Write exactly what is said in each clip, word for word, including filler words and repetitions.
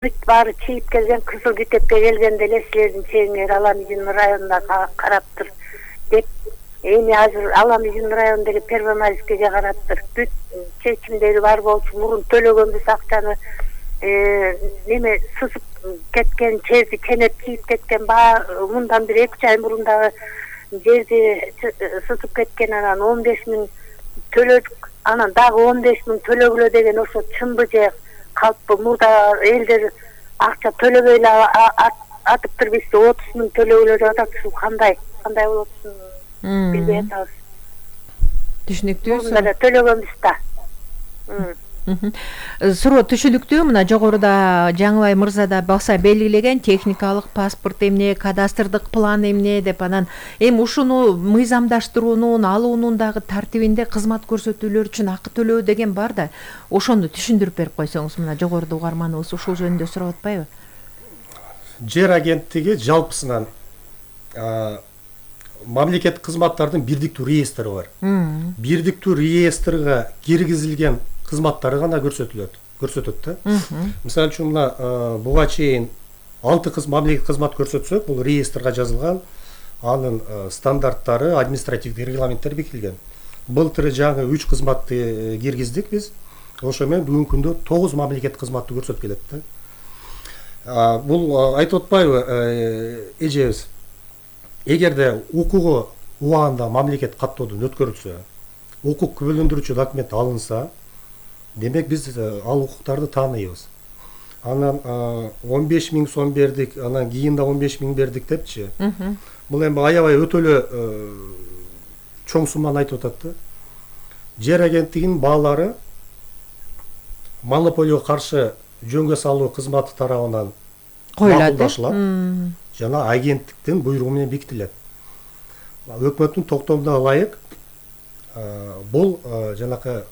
бүт баары чийип келген, кызыл китепке келгенде эле силердин чегиңер Аламижин районуна караптыр деп, эми азыр Аламижин районундагы Первомайскийге караптыр. Бүт чечимдери бар болчу, мурун төлөгөнбүз акчаны неме сызып кеткен, черди кенеп чийип кеткен, баа мындан бир эки ай мурун дагы жерди сызып кеткен, анан он беш миң төлөдүк, анан дагы он беш миң төлөгүлө деген ошо чынбы же калппы? Мурда элдер акча төлөбөй эле атыптыр, бизде отуз миң төлөгүлө деп атат. Ушул кандай кандай болот билбей атабыз. Түшүнүктүү. Мында да төлөгөнбүз да. Суроо түшүнүктүү. Мына жогоруда Жаңыбай мырза да баса белгилеген техникалык паспорт эмне, кадастрдык план эмне деп, анан эми ушуну мыйзамдаштыруунун, алуунун дагы тартибинде кызмат көрсөтүүлөр үчүн акы төлөө деген бар да. Ошону түшүндүрүп берип койсоңуз, мына жогоруда угарманыбыз ушул жөнүндө сурап атпайбы? Жер агенттиги жалпысынан мамлекеттик кызматтардын бирдиктүү реестри бар. Бирдиктүү реестрге киргизилген кызматтары гана көрсөтүлөт, көрсөтөт да. Мисалы үчүн мына буга чейин алты кыз мамлекеттик кызмат көрсөтсөк, бул реестрге жазылган, анын стандарттары, административдик регламенттер бекитилген. Былтыр жаңы үч кызматты киргиздик биз. Ошо менен бүгүнкү күндө тогуз мамлекеттик кызматты көрсөтүп келет да. Бул айтып атпайбы эжебиз? Эгерде укугу убагында мамлекет каттоодон өткөрүлсө, укук күбөлөндүрүүчү документ алынса, демек биз ал укуктарды тааныйбыз. Анан он беш миң сом бердик, анан кийин да он беш миң бердик депчи. Бул эми аябай өтө эле чоң сумманы айтып атат да. Жер агенттигинин баалары монополияга каршы жөнгө салуу кызматы тарабынан макулдашылат жана агенттиктин буйругу менен бекитилет. Өкмөттүн токтомуна ылайык бул жанакы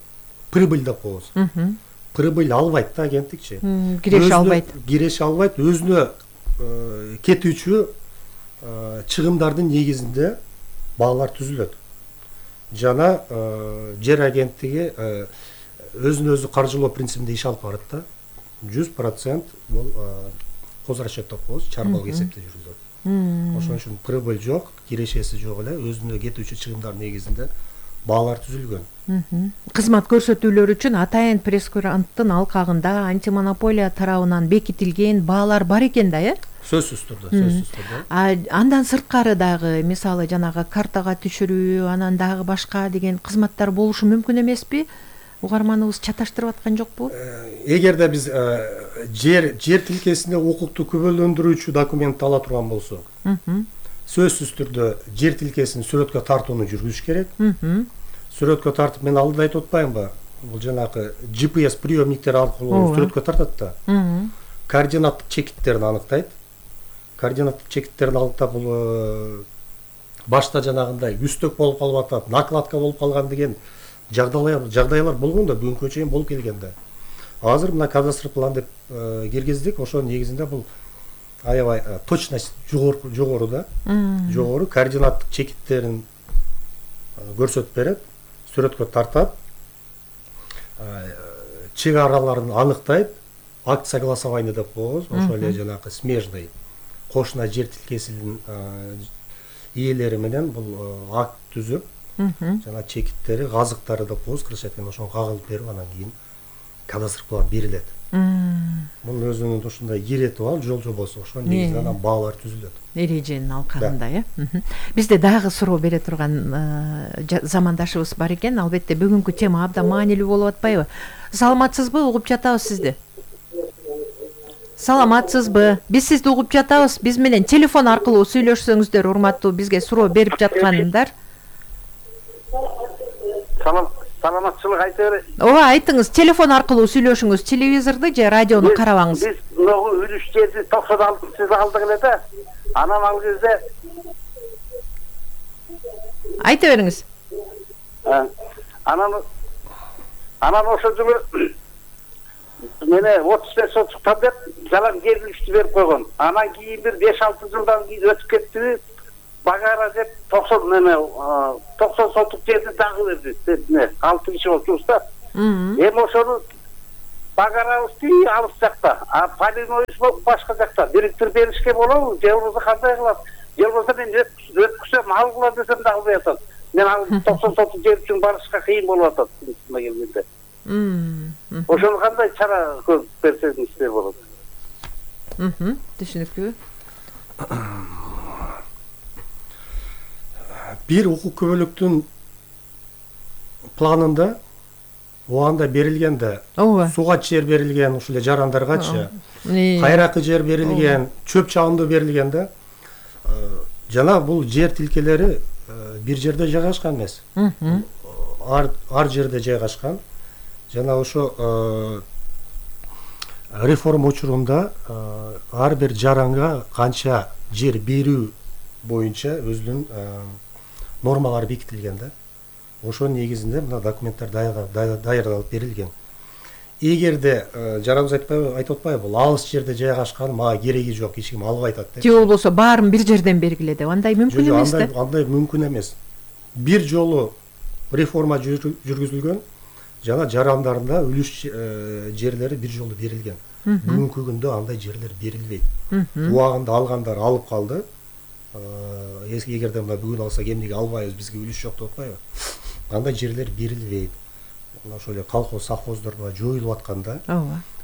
прибыль деп коебуз. Прибыль албайт да агенттикчи. Киреше албайт. Киреше албайт, өзүнө кетүүчү чыгымдардын негизинде баалар түзүлөт. Жана жер агенттиги өзүн өзү каржылоо принцибинде иш алып барат да. жүз процент бул козрасчет деп коебуз, чарбалык эсепте жүргүзөт. Ошон үчүн прибыль жок, кирешеси жок эле, өзүнө кетүүчү чыгымдардын негизинде баалар түзүлгөн. Кызмат көрсөтүүлөр үчүн атайын пресс-куранттын алкагында антимонополия тарабынан бекитилген баалар бар экен да, э? Сөзсүз түрдө, сөзсүз түрдө. Андан сырткары дагы, мисалы жанагы картага түшүрүү, анан дагы башка деген кызматтар болушу мүмкүн эмеспи? Угарманыбыз чаташтырып аткан жокпу? Эгерде биз жер жер тилкесинде укукту күбөлөндүрүүчү документ ала турган болсок, сөзсүз түрдө жер тилкесин сүрөткө тартууну жүргүзүш керек. Сүрөткө тартып, мен алдыда айтып атпаймынбы? Бул жанагы джи пи эс приемниктер аркылуу сүрөткө тартат да. Координаттык чекиттерин аныктайт. Координаттык чекиттерин аныктап, бул башта жанагындай үстөк болуп калып атат, накладка болуп калган деген жагдайлар жагдайлар болгон да, бүгүнкү чейин болуп келген да. Азыр мына кадастр план деп киргиздик, ошонун негизинде бул аябай точность жогору жогору да. Жогору координаттык чекиттерин көрсөтүп берет, сүрөткө тартат, чек араларын аныктайт, акт согласования деп коебуз, ошол эле жанагы смежный кошуна жер тилкесинин ээлери менен бул акт түзүп, жана чекиттери, газыктары деп коебуз, кыргызча айтканда, ошону кагылып берип, анан кийин кадастр план берилет. Бул өзүнүн ушундай ирети бар, жол жобосу, ошонун негизинде анан баалар түзүлөт. Эреженин алкагында, э? Бизде дагы суроо бере турган замандашыбыз бар экен. Албетте бүгүнкү тема абдан маанилүү болуп атпайбы? Саламатсызбы? Угуп жатабыз сизди. Саламатсызбы? Биз сизди угуп жатабыз. Биз менен телефон аркылуу сүйлөшсөңүздөр, урматтуу бизге суроо берип жаткандар. Салам, саламатчылык айта бер. Ооба, айтыңыз, телефон аркылуу сүйлөшүңүз, телевизорду же радиону карабаңыз. Биз могу үлүш жерди токсон алтынчы алдык эле да. Анан ал кезде айта бериңиз. Анан анан ошо жылы мене отуз беш сотуктан деп жалаң жер үлүштү берип койгон. Анан кийин бир беш алты жылдан кийин өтүп кетти. Багара деп токсон неме токсон сотук жерди дагы берди. Не, алты киши болчубуз да. Эми ошону багарабыз тии алыс жакта, а полиноюз башка жакта. Бириктирип беришке болобу, же болбосо кандай кылат? Же болбосо мен өткүзсөм алгыла десем да албай атат. Мен ал токсон сотук жер үчүн барышка кыйын болуп атат чынына келгенде. Ошону кандай чара көрүп берсеңизде болот? Түшүнүктүү. Бир укук көбөлүктүн планында оанда берилгенде суга жер берилген, ушул эле жарандаргачы, кайракы жер берилген, чөп чабындуу берилгенде жана бул жер тилкелери бир жерде жайгашкан эмес. Ар ар жерде жайгашкан. Жана ошо реформа учурунда ар бир жаранга канча жер берүү боюнча өзүнүн нормалары бекитилген да. Ошонун негизинде мына документтер даярдалып берилген. Эгерде жараныбыз айтып атпайбы, бул алыс жерде жайгашкан, мага кереги жок, эч ким албай атат деп. Же болбосо баарын бир жерден бергиле деп. Андай мүмкүн эмес да. Андай мүмкүн эмес. Бир жолу реформа жүргүзүлгөн, жана жарандарында үлүш жерлери бир жолу берилген. Бүгүнкү күндө андай жерлер берилбейт. Убагында алгандар алып калды. Эгерде мына бүгүн алсак эмнеге албайбыз, бизге үлүш жок деп атпайбы? Андай жерлер берилбейт. Ошол эле колхоз, совхоздордо жоюлуп атканда,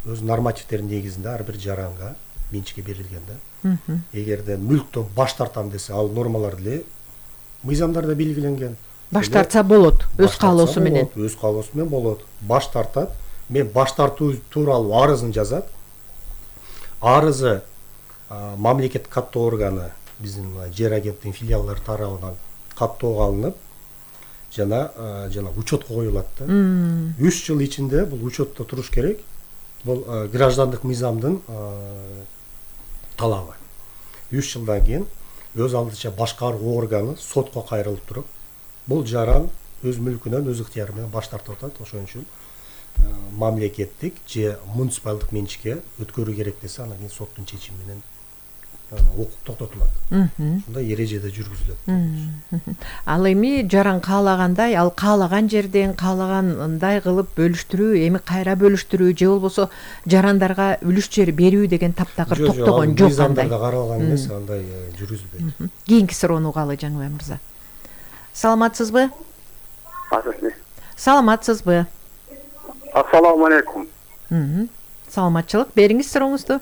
өз нормативтердин негизинде ар бир жаранга менчикке берилген да. Эгерде мүлктөн баш тартам десе, ал нормалар деле мыйзамдарда белгиленген. Баш тартса болот, өз каалоосу менен. Өз каалоосу менен болот. Баш тартат. Мен баш тартуу тууралуу арызын жазат. Арызы мамлекет каттоо органы, биздин жер агенттигинин филиалдары тарабынан каттоого алынып, жана жана учетко коюлат да. үч жыл ичинде бул учетто туруш керек. Бул граждандык мыйзамдын талабы. үч жылдан кийин өз алдынча башкаруу органы сотко кайрылып туруп, бул жаран өз мүлкүнөн өз ыктыяры менен баш тартып атат. Ошон үчүн мамлекеттик же муниципалдык менчикке өткөрүү керек десе, анан кийин соттун чечими менен укук токтотулат. Ушундай эрежеде жүргүзүлөт. Ал эми жаран каалагандай, ал каалаган жерден каалагандай кылып бөлүштүрүү, эми кайра бөлүштүрүү же болбосо жарандарга үлүш жер берүү деген таптакыр токтогон жок андай. Мыйзамдарда каралган эмес, андай жүргүзүлбөйт. Кийинки суроону угалы Жаңыбай мырза. Саламатсызбы? Саламатсызбы? Ассаламу алейкум. Саламатчылык, бериңиз сурооңузду.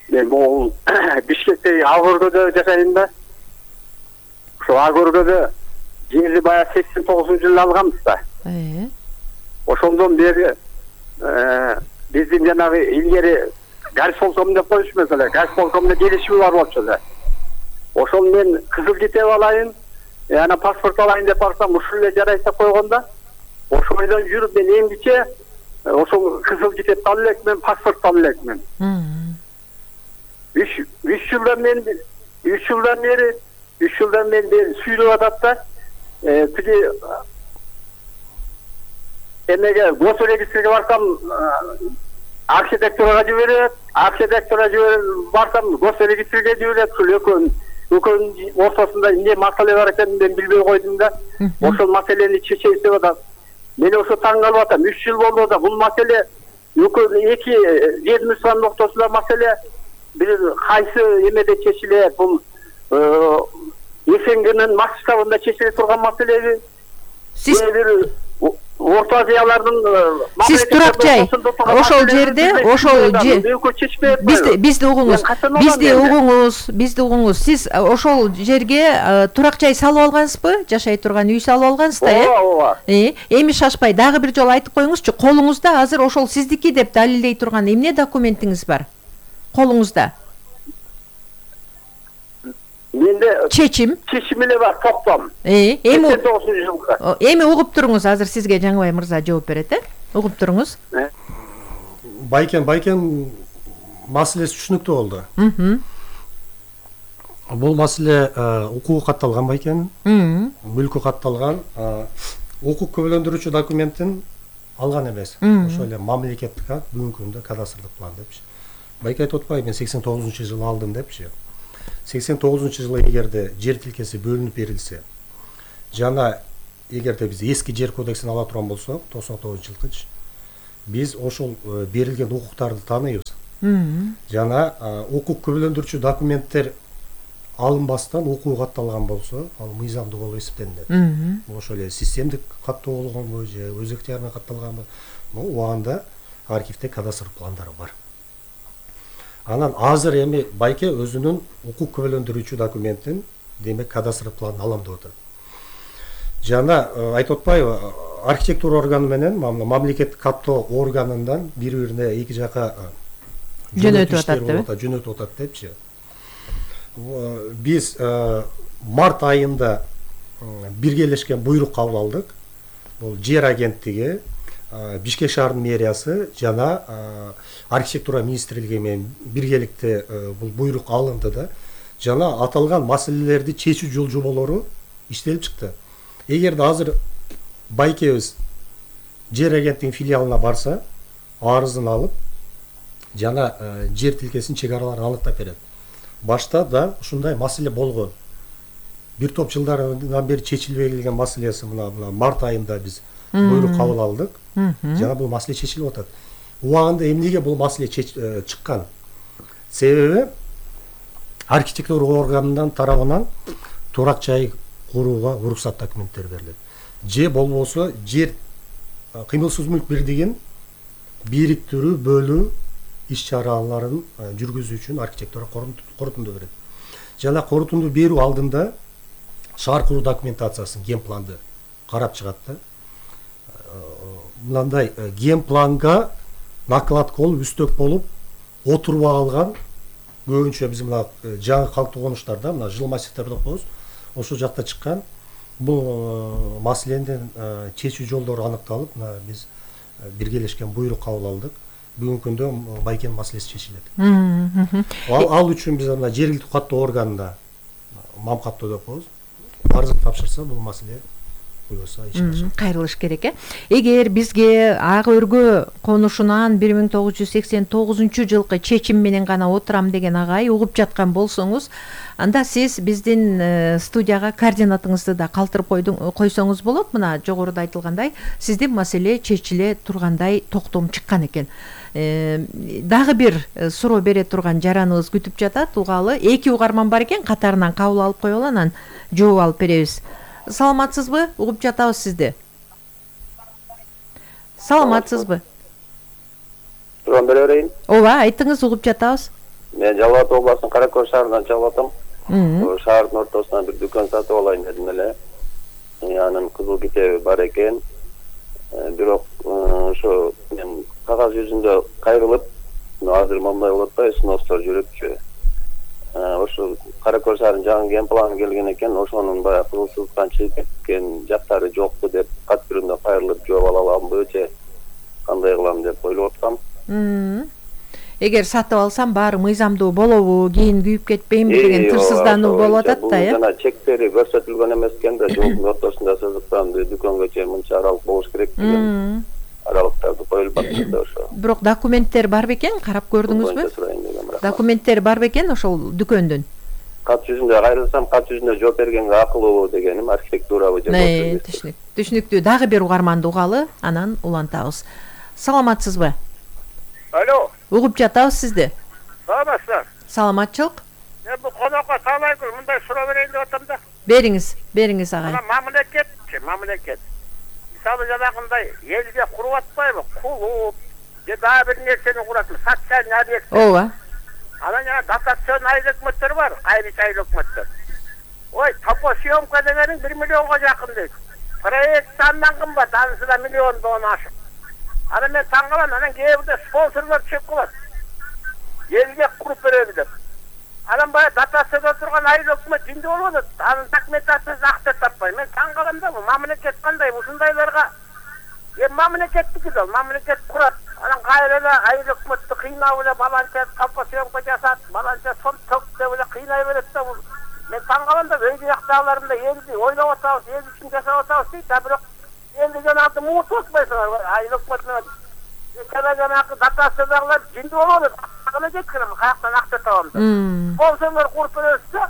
Мен бул Бишкекте Агөргөдө жашайм да. Ошо Агөргөдө жерди баягы сексен тогузунчу жылы алганбыз да. Э. Ошондон бери биздин жанагы илгери горисполком деп коюшму эле, горисполкомдо келишими бар болчу эле. Ошол мен кызыл китеп алайын, анан паспорт алайын деп барсам, ушул эле жарайт деп койгонда, ошол бойдон жүрүп мен эмгиче ошол кызыл китепти алып элекмен, паспортду алып элекмен. Үч жылдан мен үч жылдан бери үч жылдан бери сүйлөп атат да. Тиги эмеге госрегистрге барсам архитектурага жиберет, архитектурага жиберет, барсам госрегистрге жиберет. Ушул экөөнүн экөөнүн ортосунда эмне маселе бар экенин мен билбей койдум да. Ошол маселени чечейт деп атат. Мен ошо таң калып атам. үч жыл болду да бул маселе экөө эки ведомствонун ортосунда маселе бир кайсы эмеде чечилет, бул СНГнын масштабында чечиле турган маселеби? Сиз Орто Азиялардын Сиз турак жай ошол жерде, ошол бизди бизди угуңуз, бизди угуңуз, бизди угуңуз. Сиз ошол жерге турак жай салып алгансызбы? Жашай турган үй салып алгансыз да, э? Ооба. Э, эми шашпай дагы бир жолу айтып коюңузчу, колуңузда азыр ошол сиздики деп далилдей турган эмне документиңиз бар? Колуңузда. Менде чечим. Чечим эле бар, токтом. Э, эми сексен тогузунчу жылга. Эми угуп туруңуз, азыр сизге Жаңыбай мырза жооп берет, э? Угуп туруңуз. Байкен, байкен маселеси түшүнүктүү болду. Бул маселе укугу катталган байкен. Мүлкү катталган, укук көбөлөндүрүүчү документин алган эмес. Ошол эле мамлекеттик акт, бүгүнкү күндө кадастрлык план депчи. Байке айтып атпайбы, мен сексен тогузунчу жылы алдым депчи. сексен тогузунчу жылы эгерде жер тилкеси бөлүнүп берилсе, жана эгерде биз эски жер кодексин ала турган болсок, токсон тогузунчу жылкычы, биз ошол берилген укуктарды тааныйбыз. Жана укук күбөлөндүрүүчү документтер алынбастан окуу катталган болсо, ал мыйзамдуу болуп эсептелинет. Ошол эле системдик каттоо болгонбу же өз ыктыярына катталганбы? Убагында архивде кадастр пландары бар. Анан азыр эми байке өзүнүн укук күбөлөндүрүүчү документин, демек кадастр планын алам деп атат. Жана айтып атпайбы, архитектура органы менен мамлекеттик каттоо органынан бири-бирине эки жака жөнөтүп атат деп, жөнөтүп атат депчи. Биз март айында биргелешкен буйрук кабыл алдык. Бул жер агенттиги, Бишкек шаарынын мэриясы жана архитектура министрлиги менен биргеликте бул буйрук алынды да, жана аталган маселелерди чечүү жол жоболору иштелип чыкты. Эгерде азыр байкебиз жер агенттигинин филиалына барса, арызын алып, жана жер тилкесинин чек араларын аныктап берет. Башта да ушундай маселе болгон. Бир топ жылдардан бери чечилбей келген маселеси мына март айында биз буйрук кабыл алдык. Жана бул маселе чечилип атат. Убагында эмнеге бул маселе чыккан? Себеби архитектура органынан тарабынан турак жай курууга уруксат документтери берилет. Же болбосо жер кыймылсыз мүлк бирдигин бириктирүү, бөлүү иш-чараларын жүргүзүү үчүн архитектура корутунду берет. Жана корутунду берүү алдында шаар куруу документациясын, генпланды карап чыгат да. Мындай генпланга накладка болуп, үстөк болуп, отурбай алган көбүнчө биз мына жаңы калктуу конуштарда, мына жыл массивтерди окуйбуз, ошол жакта чыккан. Бул маселенин чечүү жолдору аныкталып, мына биз биргелешкен буйрук кабыл алдык. Бүгүнкү күндө байкенин маселеси чечилет. Ал, ал үчүн биз мына жергиликтүү каттоо органына мам каттоо деп коебуз. Арызын тапшырса, бул маселе буюрса ишин ашат. Кайрылыш керек э. Эгер бизге Ак Өргө конушунан бир миң тогуз жүз сексен тогузунчу жылкы чечим менен гана отурам деген агай угуп жаткан болсоңуз, анда сиз биздин студияга координатыңызды да калтырып койсоңуз болот. Мына жогоруда айтылгандай, сиздин маселе чечиле тургандай токтом чыккан экен. Дагы бир суроо бере турган жараныбыз күтүп жатат. Угалы эки угарман бар экен, катарынан кабыл алып коелу, анан жооп алып беребиз. Саламатсызбы? Угуп жатабыз сизди. Саламатсызбы? Турган бере берейин. Ооба, айтыңыз, угуп жатабыз. Мен Жалал Абад областынын Кара Көл шаарынан чалып атам. Шаардын ортосунан бир дүкөн сатып алайын дедим эле. Анын кызыл китеби бар экен. Бирок ошо мен кагаз жүзүндө кайрылып, азыр мындай болуп атпайбы, сностор жүрүпчү. Ошо Кара Көл шаарынын жаңы генпланы келген экен, ошонун баягы кызылчылыктан чыгып кеткен жактары жокпу деп кат түрүндө кайрылып жооп ала аламбы же кандай кылам деп ойлоп аткам. Эгер сатып алсам баары мыйзамдуу болобу, кийин күйүп кетпеймби деген тырсыздануу болуп атат да, э? Жана чектери көрсөтүлгөн эмес экен да, жолдун ортосунда сызыктан дүкөнгө чейин мынча аралык болуш керек деген аралыктарды коюлуп атат да ошо. Бирок документтер бар бекен, карап көрдүңүзбү? Документтер бар бекен ошол дүкөндүн? Кат жүзүндө кайрылсам, кат жүзүндө жооп бергенге акылуу дегеним архитектурабы же болбосо. Түшүнүк. Түшүнүктүү. Дагы бир угарманды угалы, анан улантабыз. Саламатсызбы? Алло. Угуп жатабыз сизди. Саламатсыздар. Саламатчылык. Мен бул конокко таалайкы мындай суроо берейин деп атам да. Бериңиз, бериңиз агай. Ана мамлекет, мамлекет. Мисалы жанагындай элге куруп атпайбы? Кулуп, же дагы бир нерсени курат, социальный объект. Ооба. Анан жана дотацион айыл өкмөттөр бар, айрыч айыл өкмөттөр. Ой, топосъемка дегениң бир миллионго жакын дейт. Проект андан кымбат, анысы да миллиондон ашык. Анан мен таң калам, анан кээ бирде спонсорлор чыгып калат. Элге куруп береби деп. Анан баягы дотацияда турган айыл өкмөт жинди болуп атат. Анын документациясын акча таппай. Мен таң калам да, бул мамлекет кандай ушундайларга? Эми мамлекеттики да, мамлекет курат. Анан кайра эле айыл өкмөттү кыйнап эле баланча топосъемка жасат, баланча сон ток деп эле кыйнай берет да бул. Мен таң калам да, өй жактагыларында элди ойлоп атабыз, эл үчүн жашап атабыз дейт, а бирок элди жанагы муутуп атпайсыңар, айыл өкмөт менен. Жана жанагы дотациядагылар жинди болуп атат. Кана жеткирем, каяктан акча табам деп. Спонсорлор куруп беребизсе,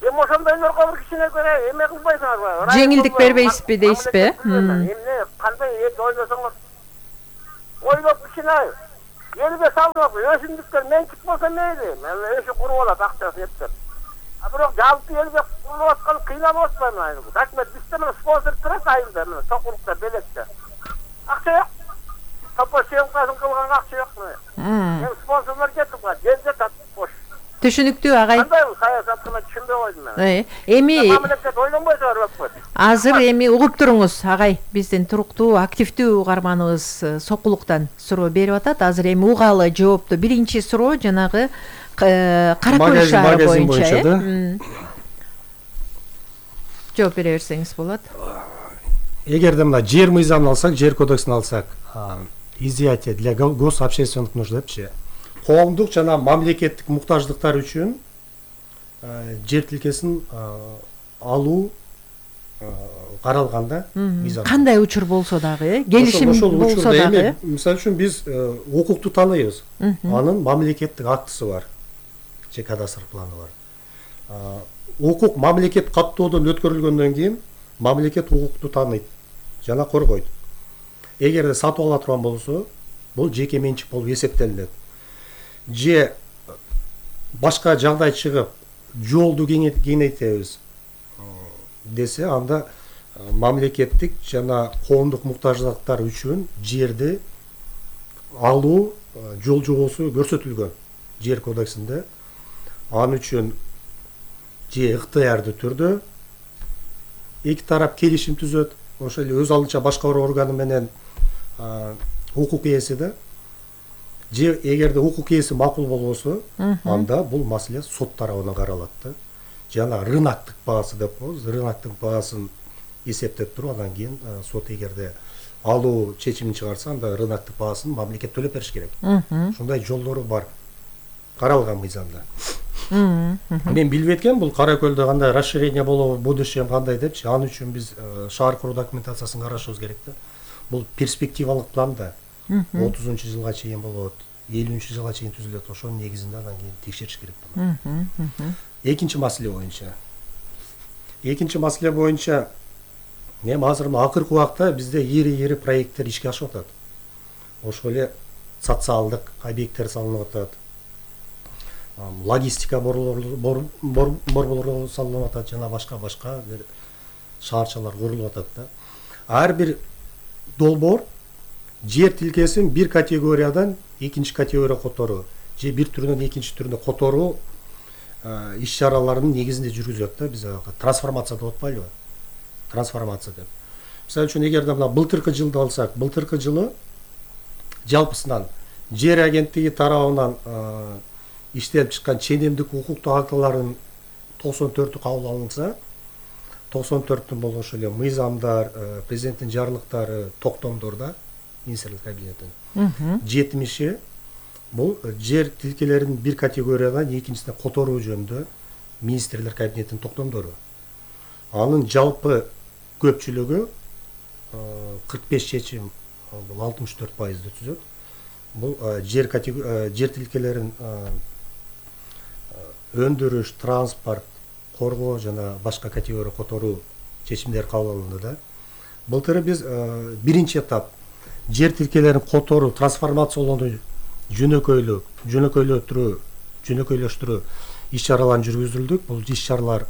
эми ошондойлорго бир кичине көрө эме кылбайсыңарбы? Жеңилдик бербейсизби дейсизби? Эмне, кандай элди ойлосоңор? ойлоп кичине элге салып өсүмдүктөр менчик болсо мейли, өсү куруп алат акчасын эптеп. А бирок жалпы элге курулуп аткан кыйналып атпайбы айыл? Рахмет, бизде мына спонсор турат айылда, мына Сокулукта, Белекте. Акча жок. Топо съемкасын кылганга акча жок. Эми спонсорлор кетип калат, жер жатат бош. Түшүнүктүү агай. Кандай бул саясатты мен түшүнбөй койдум мен. Эми мамлекет ойлонбойсо барбакпы? азыр эми угуп туруңуз агай, биздин туруктуу активдүү угарманыбыз Сокулуктан суроо берип атат. Азыр эми угалы жоопту. Биринчи суроо жанагы Кара Көл шаары боюнча да. Жооп бере берсеңиз болот. Эгерде мына жер мыйзамын алсак, жер кодексин алсак, изъятие для гособщественных нужд депчи, коомдук жана мамлекеттик муктаждыктар үчүн жер тилкесин алуу каралганда мыйзам. Кандай учур болсо дагы, келишим болсо дагы. Мисалы үчүн биз укукту тааныйбыз. Анын мамлекеттик актысы бар. Же кадастр планы бар. Укук мамлекет каттоодон өткөрүлгөндөн кийин мамлекет укукту тааныйт жана коргойт. Эгерде сатып ала турган болсо, бул жеке менчик болуп эсептелинет. Же башка жагдай чыгып, жолду кеңейтебиз десе, анда мамлекеттик жана коомдук муктаждыктар үчүн жерди алуу жол жобосу көрсөтүлгөн жер кодексинде. Анын үчүн же ыктыярдуу түрдө эки тарап келишим түзөт. Ошол эле өз алдынча башкаруу органы менен укук ээси да. Же эгерде укук ээси макул болбосо, анда бул маселе сот тарабынан каралат да. Жана рыноктук баасы деп коебуз. Рыноктук баасын эсептеп туруп, андан кийин сот эгерде алуу чечимин чыгарса, анда рыноктук баасын мамлекет төлөп бериш керек. Ушундай жолдору бар. Каралган мыйзамда. Мен билбей эткем, бул Кара Көлдө кандай расширение болобу, будущем кандай депчи. Анын үчүн биз шаар куруу документациясын карашыбыз керек да. Бул перспективалык план да. отузунчу жылга чейин болот, элүүнчү жылга чейин түзүлөт. Ошонун негизинде андан кийин текшериш керек болот. Экинчи маселе боюнча. Экинчи маселе боюнча эми азыр акыркы убакта бизде ири-ири проекттер ишке ашып атат. Ошол эле социалдык объекттер салынып атат. Логистика борборлору салынып атат, жана башка-башка шаарчалар курулуп атат да. Ар бир долбоор жер тилкесин бир категориядан экинчи категорияга которуу, же бир түрүнөн экинчи түрүнө которуу иш-чараларынын негизинде жүргүзөт да. Биз трансформация деп атпайлыбы? Трансформация деп. Мисалы үчүн эгерде мына былтыркы жылды алсак, былтыркы жылы жалпысынан жер агенттиги тарабынан иштелип чыккан ченемдик укуктук актылардын токсон төртү кабыл алынса, токсон төртүн бул ошол эле мыйзамдар, президенттин жарлыктары, токтомдор да, министрлик кабинетинин. жетимиши бул жер тилкелерин бир категориядан экинчисине которуу жөнүндө министрлер кабинетинин токтомдору. Анын жалпы көпчүлүгү кырк беш чечим, бул алтымыш төрт пайызды түзөт. Бул жер жер тилкелерин өндүрүш, транспорт, коргоо жана башка категория которуу чечимдер кабыл алынды да. Былтыр биз биринчи этап жер тилкелерин которуу, трансформациялоону жөнөкөйлүү, жөнөкөйлөтүрүү, жөнөкөйлөштүрүү иш-чараларын жүргүздүрдүк. Бул иш-чаралар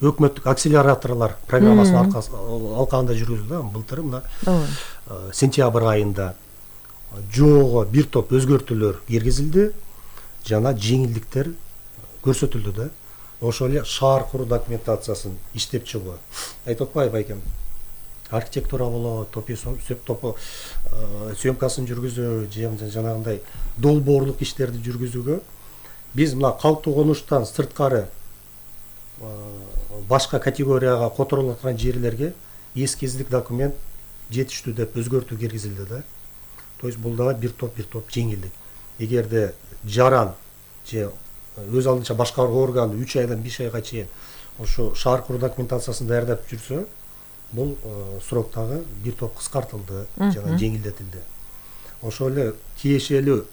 өкмөттүк акселераторлор программасынын алкагында жүргүзүлдү. Былтыр мына сентябрь айында жоого бир топ өзгөртүүлөр киргизилди, жана жеңилдиктер көрсөтүлдү да. Ошол эле шаар куруу документациясын иштеп чыгуу. Айтып атпайбы байкем? Архитектура болобу, топо топо съемкасын жүргүзүү, же жанагындай долбоорлук иштерди жүргүзүүгө биз мына калктуу конуштан сырткары башка категорияга которулуп аткан жерлерге эскиздик документ жетиштүү деп өзгөртүү киргизилди да. То есть бул дагы бир топ бир топ жеңилдик. Эгерде жаран же өз алдынча башкаруу органы үч айдан беш айга чейин ошо шаар куруу документациясын даярдап жүрсө, бул сроктагы бир топ кыскартылды жана жеңилдетилди. Ошол эле тиешелүү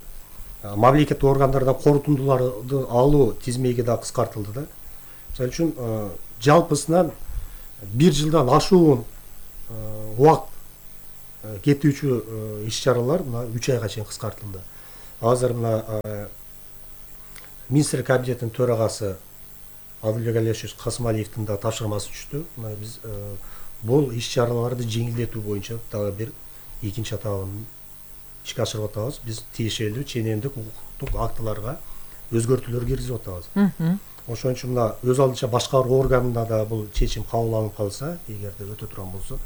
мамлекеттик органдардан корутундуларды алуу тизмеги да кыскартылды да. Мисалы үчүн жалпысынан бир жылдан ашуун убакыт кетүүчү иш чаралар мына үч айга чейин кыскартылды. Азыр мына министрлер кабинетинин төрагасы Адылбек Алиевич Касымалиевдин да тапшырмасы түштү. Мына биз бул иш чараларды жеңилдетүү боюнча дагы бир экинчи этабын ишке ашырып атабыз. Биз тиешелүү ченемдик укуктук актыларга өзгөртүүлөр киргизип атабыз. Ошон үчүн мына өз алдынча башкаруу органында да бул чечим кабыл алынып калса, эгерде өтө турган болсо,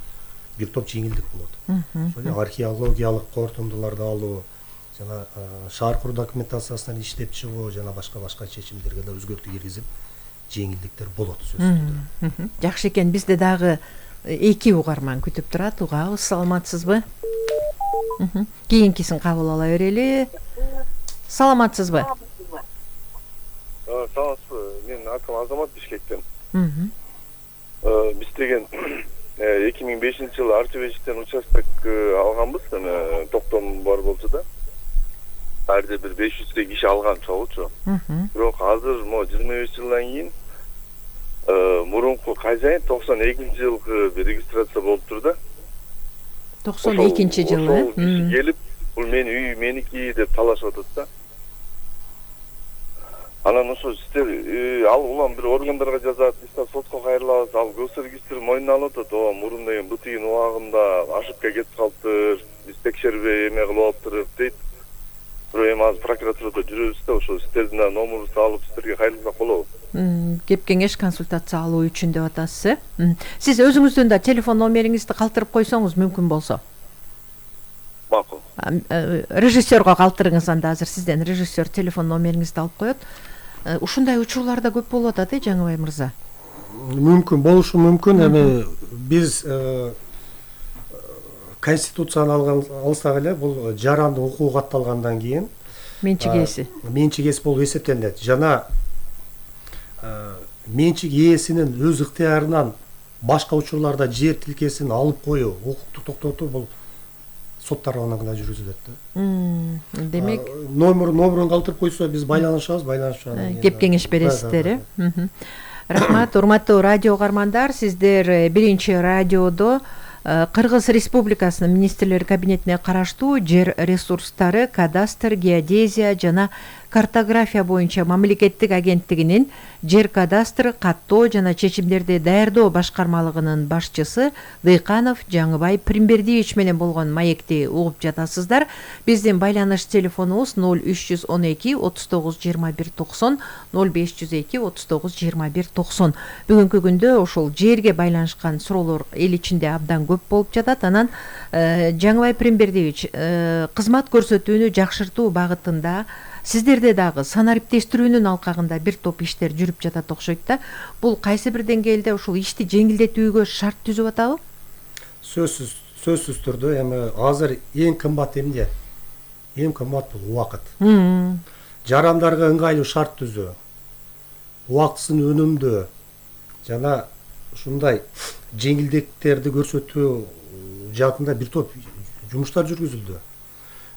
бир топ жеңилдик болот. Ошол археологиялык корутундуларды алуу, жана шаар куруу документациясынан иштеп чыгуу, жана башка-башка чечимдерге да өзгөртүү киргизип, жеңилдиктер болот сөзсүз түрдө. Жакшы экен, бизде дагы эки угарман күтүп турат. Угабыз, саламатсызбы? Кийинкисин кабыл ала берели. Саламатсызбы? Саламатсызбы? Менин атым Азамат, Бишкектен. Биз деген эки миң бешинчи жылы Артебешиктен участок алганбыз, токтом бар болчу да. Арды бир беш жүздөй киши алган чогучу. Бирок азыр mo жыйырма беш жылдан кийин мурунку кажайын токсон экинчи жылкы бир регистрация болуптур да. токсон экинчи жылы. Ошол киши келип, бул менин үй меники деп талашып атат да. Анан ошо сиздер ал улам бир органдарга жазат, биз сотко кайрылабыз, ал госрегистр мойнуна алып атат. Ооба, мурун деген бу тигин убагында ошибка кетип калыптыр, биз текшербей эме кылып алыптыр дейт. Бирок эми азыр прокуратурада жүрөбүз да, ошо сиздердин да номерибизди алып сиздерге кайрылсак болобу? Кеп кеңеш консультация алуу үчүн деп атасыз, э? Сиз өзүңүздүн да телефон номериңизди калтырып койсоңуз мүмкүн болсо. Макул. Режиссерго калтырыңыз, анда азыр сизден режиссер телефон номериңизди алып коет. Ушундай учурларда көп болуп атат, э, Жаңыбай мырза? Мүмкүн болушу мүмкүн. Эми биз конституцияны алсак эле, бул жарандын укугу катталгандан кийин менчик ээси. Менчик ээси болуп эсептелет. Жана менчик ээсинин өз ыктыярынан башка учурларда жер тилкесин алып коюу, укукту токтотуу бул сот тарабынан гана жүргүзүлөт да. Демек, номер номерин калтырып койсо биз байланышабыз, байланышып кеп кеңеш бересиздер, э? Рахмат, урматтуу радио угармандар, сиздер биринчи радиодо Кыргыз Республикасынын министрлер кабинетине караштуу жер ресурстары, кадастр, геодезия жана картография боюнча мамлекеттик агенттигинин жер кадастры, каттоо жана чечимдерди даярдоо башкармалыгынын башчысы Дыйканов Жаңыбай Примбердиевич менен болгон маекти угуп жатасыздар. Биздин байланыш телефонубуз ноль үч жүз он эки отуз тогуз жыйырма бир токсон, ноль беш жүз эки отуз тогуз жыйырма бир токсон. Бүгүнкү күндө ошол жерге байланышкан суроолор эл ичинде абдан көп болуп жатат. Анан Жаңыбай Примбердиевич, кызмат көрсөтүүнү жакшыртуу багытында сиздерде дагы санариптештирүүнүн алкагында бир топ иштер жүрүп жатат окшойт да. Бул кайсы бир деңгээлде ушул ишти жеңилдетүүгө шарт түзүп атабы? Сөзсүз, сөзсүз түрдө эми азыр эң кымбат эмне? Эң кымбат бул убакыт. Жарандарга ыңгайлуу шарт түзүү, убактысын өнүмдөө жана ушундай жеңилдиктерди көрсөтүү жаатында бир топ жумуштар жүргүзүлдү.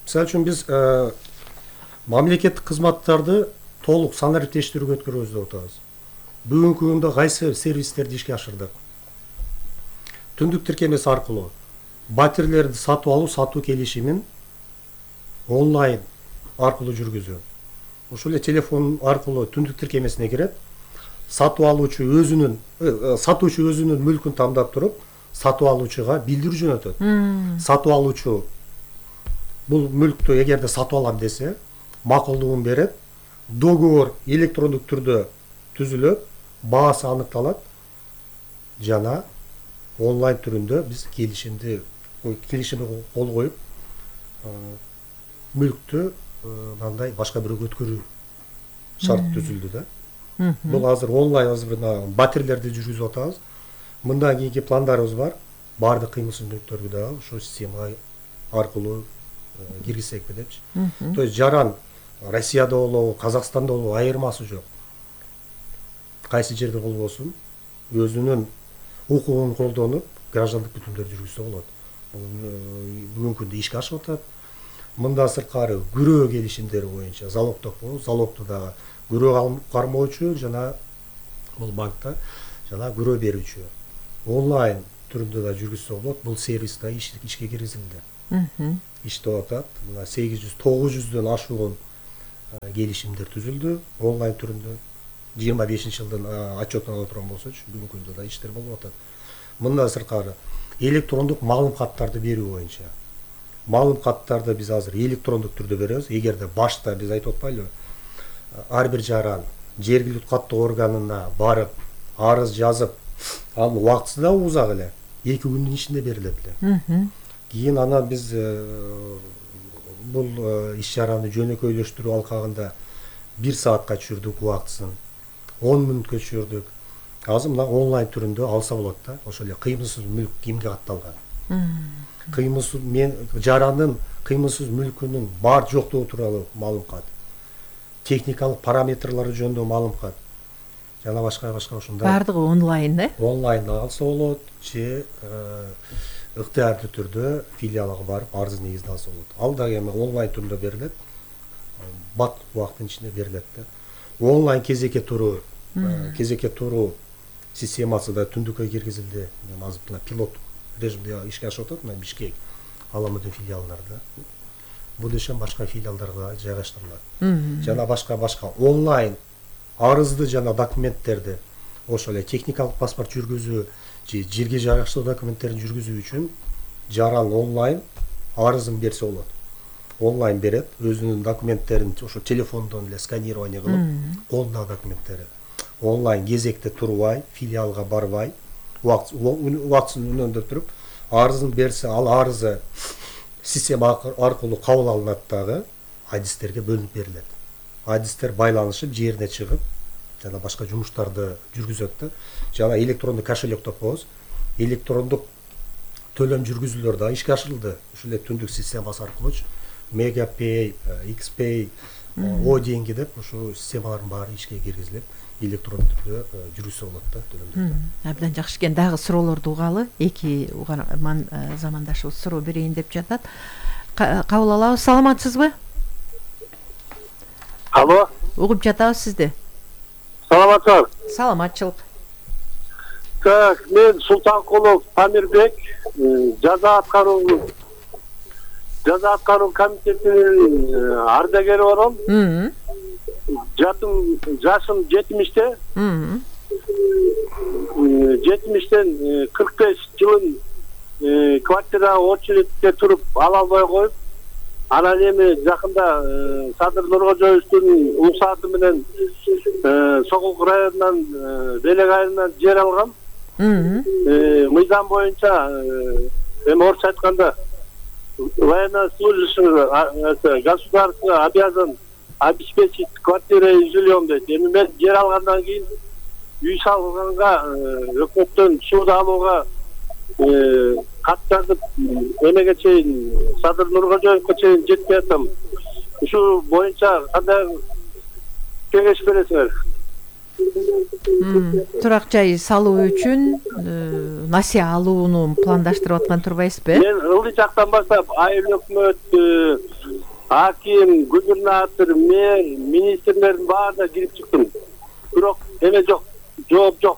Мисалы үчүн биз мамлекеттик кызматтарды толук санариптештирүүгө өткөрөбүз деп атабыз. Бүгүнкү күндө кайсы сервистерди ишке ашырдык? Түндүк тиркемеси аркылуу батирлерди сатып алуу, сатуу келишимин онлайн аркылуу жүргүзүү. Ушул эле телефон аркылуу түндүк тиркемесине кирет, сатып алуучу өзүнүн сатуучу өзүнүн мүлкүн тандап туруп, сатып алуучуга билдирүү жөнөтөт. Сатып алуучу бул мүлктү эгерде сатып алам десе, макулдугун берет, договор электрондук түрдө түзүлөт, баасы аныкталат жана онлайн түрүндө биз келишимди келишимге кол коюп мүлктү мындай башка бирөөгө өткөрүү шарт түзүлдү да. Бул азыр онлайн азыр батирлерди жүргүзүп атабыз. Мындан кийинки пландарыбыз бар. Баардык кыймыл-сүрөттөрдү да ошол система аркылуу киргизсекпи депчи. То есть жаран Россияда болобу, Казакстанда болобу айырмасы жок. Кайсы жерде болбосун, өзүнүн укугун колдонуп, граждандык бүтүмдөрдү жүргүзсө болот. Бүгүнкү күндө ишке ашып атат. Мындан сырткары күрөө келишимдери боюнча залогдок болот, залогду дагы күрөө кармоочу жана бул банкта жана күрөө берүүчү онлайн түрүндө да жүргүзсө болот. Бул сервис да ишке киргизилди. Иштеп атат. Мына сегиз жүз тогуз жүздөн ашуун келишимдер түзүлдү онлайн түрүндө. жыйырма бешинчи жылдын отчетун ала турган болсочу, бүгүнкү күндө да иштер болуп атат. Мындан сырткары электрондук маалым каттарды берүү боюнча. Маалым каттарды биз азыр электрондук түрдө беребиз. Эгерде башта биз айтып атпайлыбы, ар бир жаран жергиликтүү каттоо органына барып, арыз жазып, анын убактысы да узак эле, эки күндүн ичинде берилет эле. Кийин анан биз бул иш чараны жөнөкөйлөштүрүү алкагында бир саатка түшүрдүк убактысын, он мүнөткө түшүрдүк. Азыр мына онлайн түрүндө алса болот да. Ошол эле кыймылсыз мүлк кимге катталган. Кыймылсыз мен жарандын кыймылсыз мүлкүнүн бар жоктугу тууралуу маалым кат. Техникалык параметрлары жөнүндө маалым кат. Жана башка башка ушундай. Бардыгы онлайн да? Онлайн алса болот, же ыктыярдуу түрдө филиалга барып арыз негизинде алса болот. Ал дагы эми онлайн түрүндө берилет. Бат убакыттын ичинде берилет да. Онлайн кезекке туруу, кезекке туруу системасы да түндүккө киргизилди. Азыр мына пилоттук режимде ишке ашып атат, мына Бишкек, Аламудин филиалдарында. Будущем башка филиалдарга жайгаштырылат. Жана башка башка онлайн арызды жана документтерди, ошол эле техникалык паспорт жүргүзүү, же жерге жайгаштыруу документтерин жүргүзүү үчүн жаран онлайн арызын берсе болот. Онлайн берет, өзүнүн документтерин ошо телефондон эле сканирование кылып, колундагы документтери онлайн кезекте турбай, филиалга барбай, убактысын үнөндөп туруп, арызын берсе, ал арызы система аркылуу кабыл алынат дагы, адистерге бөлүнүп берилет. Адистер байланышып, жерине чыгып, жана башка жумуштарды жүргүзөт да. Жана электрондук кошелек деп коебуз. Электрондук төлөм жүргүзүүлөр да ишке ашырылды. Ушул эле түндүк системасы аркылуучу Мегапей, Xpay, О деньги деп ушул системалардын баары ишке киргизилип, электрондук түрдө жүргүзсө болот да төлөмдөрдү. Абдан жакшы экен. Дагы суроолорду угалы. Эки угарман замандашыбыз суроо берейин деп жатат. Кабыл алабыз. Саламатсызбы? Алло. Угуп жатабыз сизди. Саламатсызбы? Саламатчылык. Так, мен Султанкулов Памирбек, жаза аткаруу жаза аткаруу комитетинин ардагери болом. Жатым жашым жетимиште. жетимиштен кырк беш жылын квартирага очередьте туруп ала албай коюп, анан эми жакында Садыр Нуркожоевдун уруксаты менен Сокулук районунан Белек айылынан жер алгам. Мыйзам боюнча эми орусча айтканда военнослужащий государство обязан обеспечить квартирой и жильем дейт. Эми мен жер алгандан кийин үй салганга өкмөттөн сууда алууга кат жазып эмеге чейин Садыр Нуркожоевго чейин жетпей атам. Ушул боюнча кандай кеңеш бересиңер? Турак жай салуу үчүн насыя алууну пландаштырып аткан турбайсызбы? Мен ылдый жактан баштап айыл өкмөт, аким, губернатор, мэр, министрлердин баарына кирип чыктым. Бирок эме жок, жооп жок.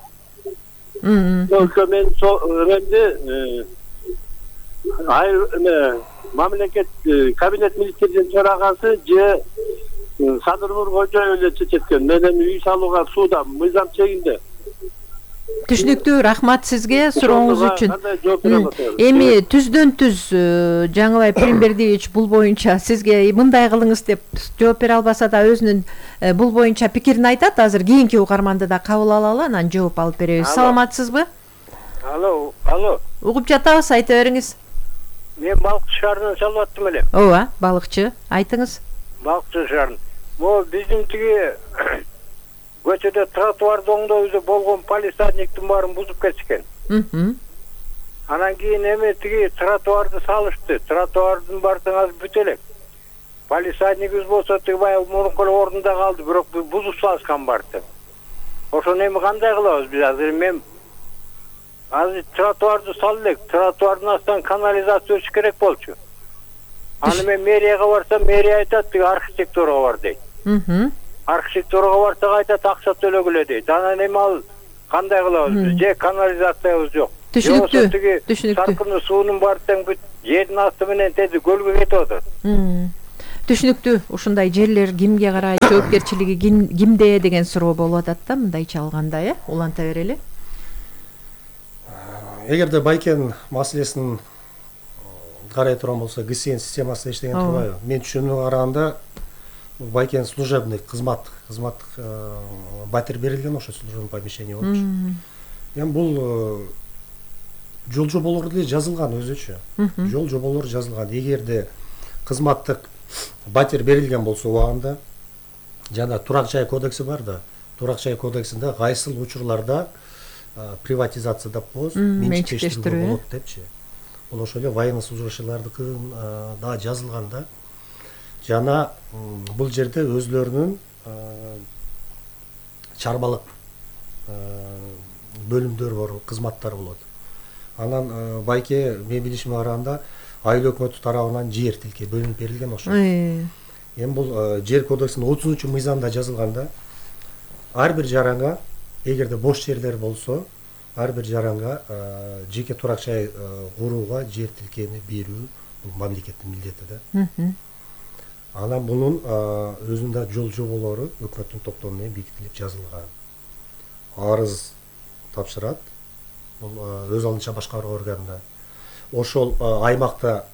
Только мен эмди айыл эме мамлекет кабинет министринин төрагасы же Садыр Нуркожоев эле чечет экен. Мен эми үй салууга суудам, мыйзам чегинде. Түшүнүктүү, рахмат сизге сурооңуз үчүн. Эми түздөн түз Жаңыбай Пиримбердиевич бул боюнча сизге мындай кылыңыз деп жооп бере албаса да өзүнүн бул боюнча пикирин айтат. Азыр кийинки угарманды да кабыл алалы, анан жооп алып беребиз. Саламатсызбы? Алло, алло. Угуп жатабыз, айта бериңиз. Мен балыкчы шаарынан чалып аттым эле. Ооба, балыкчы, айтыңыз. Балыкчы шаарынан. Могу биздин тиги көчөдө тротуарды оңдообузда болгон палисадниктин баарын бузуп кетишкен. Анан кийин эми тиги тротуарды салышты. Тротуардын баардыгы азыр бүтө элек. Палисаднигибиз болсо тиги баягы мурунку эле ордунда калды, бирок бузуп салышкан баарды. Ошону эми кандай кылабыз биз азыр? Мен азыр тротуарды салып элек, тротуардын астынан канализация өтүш керек болчу. Аны мен мэрияга барсам, мэрия айтат, тиги архитектурага бар дейт. Архитектурага барсак айтат, акча төлөгүлө дейт. Анан эми ал кандай кылабыз? Же канализациябыз жок. түшүнүктүү, түшүнүктүү. Салкын суунун баары тең бүт жердин асты менен тети көлгө кетип атат. Түшүнүктүү. Ушундай жерлер кимге карайт, жоопкерчилиги кимде деген суроо болуп атат да мындайча алганда, э? Уланта берели. Эгерде Байкен маселесин карай турган болсо, ГСН системасында иштеген турбайбы? Мен түшүнүгүмө караганда Байкен служебный кызмат, кызматтык батир берилген ошо служебный помещение болчу. Эми бул жол жоболору деле жазылган өзүчө. Жол жоболору жазылган. Эгерде кызматтык батир берилген болсо убагында, жана турак жай кодекси бар да, турак жай кодексинде кайсыл учурларда приватизация деп коебуз, менчиктештирүү болот депчи. Бул ошо эле военнослужащийлардыкын да жазылган да. Жана бул жерде өзлөрүнүн чарбалык бөлүмдөрү бар, кызматтары болот. Анан Байке мен билишиме караганда айыл өкмөтү тарабынан жер тилке бөлүнүп берилген ошо. Эми бул жер кодексинин отузунчу мыйзамында жазылганда ар бир жаранга, эгерде бош жерлер болсо, ар бир жаранга жеке турак жай курууга жер тилкени берүү бул мамлекеттин милдети да. Анан бунун өзүндө жол жоболору өкмөттүн топтому менен бекитилип жазылган. Арыз тапшырат, бул өз алдынча башкаруу органына. Ошол аймакта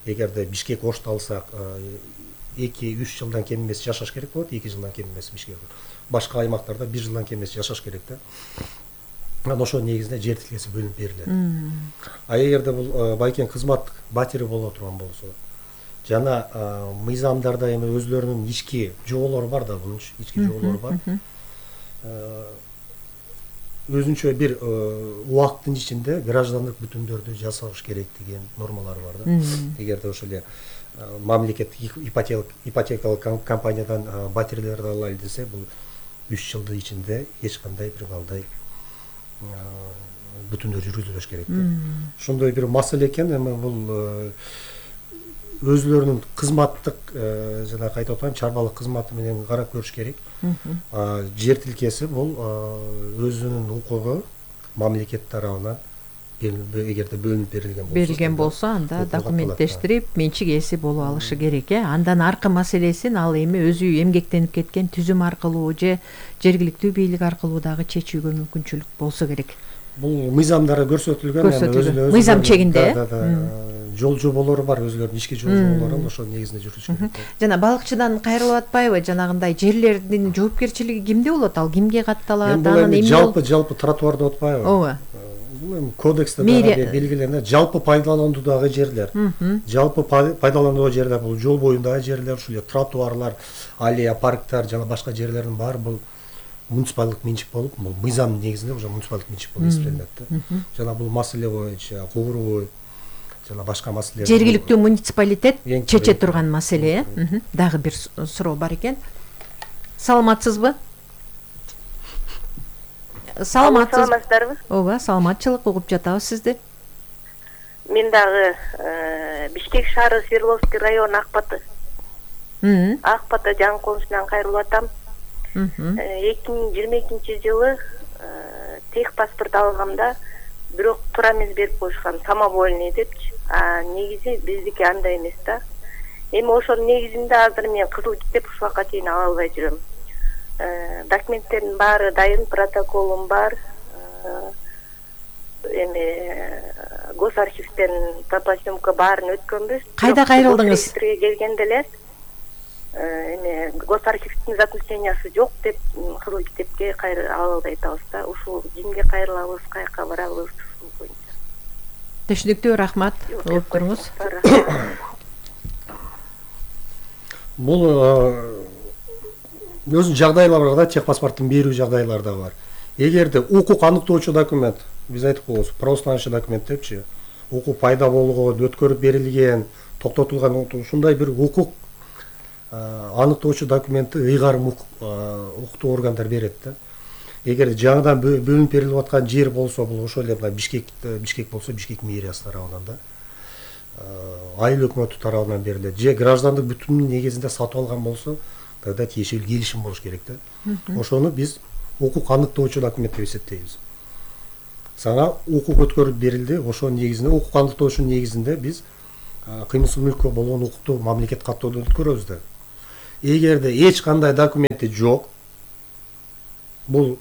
эгерде Бишкек Ошто алсак, эки үч жылдан кем эмес жашаш керек болот, эки жылдан кем эмес Бишкек. Башка аймактарда бир жылдан кем эмес жашаш керек да. Анан ошол негизинде жер тилкеси бөлүнүп берилет. А эгерде бул Байкен кызматтык батири боло турган болсо, жана мыйзамдарда эми өзлөрүнүн ички жоболору бар да, бунун ички жоболору бар. Өзүнчө бир убакыттын ичинде граждандык бүтүндөрдү жасаш керек деген нормалары бар да. Эгерде ошол эле мамлекеттик ипотекалык компаниядан батирлерди алайлы десе, бул үч жылдын ичинде эч кандай бир кандай бүтүндөр жүргүзүлүш керек да. Ошондой бир маселе экен. Эми бул өзлөрүнүн кызматтык жана кайта атайм чарбалык кызматы менен карап көрүш керек. Жер тилкеси бул өзүнүн укугу мамлекет тарабынан эгерде бөлүнүп берилген болсо, берилген болсо, анда документтештирип менчик ээси боло алышы керек, э? Андан аркы маселесин ал эми өзү эмгектенип кеткен түзүм аркылуу же жергиликтүү бийлик аркылуу дагы чечүүгө мүмкүнчүлүк болсо керек. Бул мыйзамдары көрсөтүлгөн, көрсөтүлгөн. Мыйзам чегинде жол жоболору бар, өзлөрүнүн ички жол жоболору, ошол негизинде жүрүш керек. Жана балыкчыдан кайрылып атпайбы? Жанагындай жерлердин жоопкерчилиги кимде болот? Ал кимге катталат? Анан эми жалпы жалпы тротуар деп атпайбы? Ооба. Бул эми кодексте белгиленет, жалпы пайдалануудагы жерлер. Жалпы пайдалануудагы жерлер бул жол боюндагы жерлер, ушул эле тротуарлар, аллея, парктар жана башка жерлердин баары бул муниципалдык менчик болуп, бул мыйзамдын негизинде уже муниципалдык менчик болуп эсептелинет да. Жана бул маселе боюнча кууруу жана башка маселелер жергиликтүү муниципалитет чече турган маселе, э? Дагы бир суроо бар экен. Саламатсызбы? Саламатсыздарбы? Ооба, саламатчылык, угуп жатабыз сизди. Мен дагы Бишкек шаары Свердловский район Акбаты. Акбаты жаңы конусунан кайрылып атам. эки миң жыйырма экинчи жылы тех паспорт алгамда бирок туура эмес берип коюшкан, самовольный депчи. А негизи биздики андай эмес да. Эми ошонун негизинде азыр мен кызыл китеп ушуга чейин ала албай жүрөм. Документтердин баары дайын, протоколум бар. Эми госархивден топосъемка баарын өткөнбүз. Кайда кайрылдыңыз? Келгенде эле эми госархивдин заключениясы жок деп кызыл китепке ала албай атабыз да. Ушул кимге кайрылабыз, каяка барабыз боюнча. Түшүнүктүү, рахмат. Угуп туруңуз. Бул өзүнүн жагдайлары бар да, тех паспорттун берүү жагдайлары да бар. Эгерде укук аныктоочу документ, биз айтып коебуз, правоустаночный документ депчи, укук пайда болгон, өткөрүп берилген, токтотулган, ушундай бир укук аныктоочу документти ыйгарым укуктуу органдар берет да. Эгер жаңыдан бөлүнүп берилип аткан жер болсо, бул ошол эле Бишкек Бишкек болсо Бишкек мэриясы тарабынан да, айыл өкмөтү тарабынан берилет. Же граждандык бүтүнүн негизинде сатып алган болсо, тогда тиешелүү келишим болуш керек да. Ошону биз укук аныктоочу документ деп эсептейбиз. сага укук өткөрүп берилди. Ошонун негизинде, укук аныктоочунун негизинде биз кыймылсыз мүлккө болгон укукту мамлекет каттоодон өткөрөбүз да. Эгерде эч кандай документи жок, бул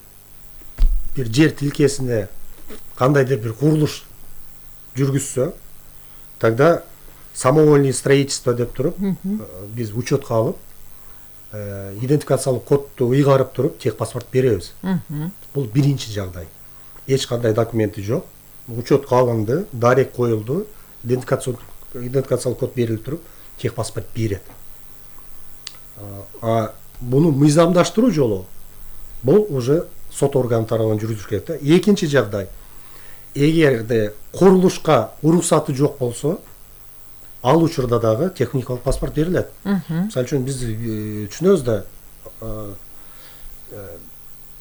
бир жер тилкесине кандайдыр бир курулуш жүргүзсө, тогда самовольный строительство деп туруп, биз учетко алып, идентификациялык кодду ыйгарып туруп, техпаспорт беребиз. Бул биринчи жагдай. Эч кандай документи жок, учетко алынды, дарек коюлду, идентификациялык код берилип туруп, техпаспорт берет. А буну мыйзамдаштыруу жолу бул уже сот органы тарабынан жүргүзүлүш керек да. Экинчи жагдай, эгерде курулушка уруксаты жок болсо, ал учурда дагы техникалык паспорт берилет. Мисалы үчүн биз түшүнөбүз да,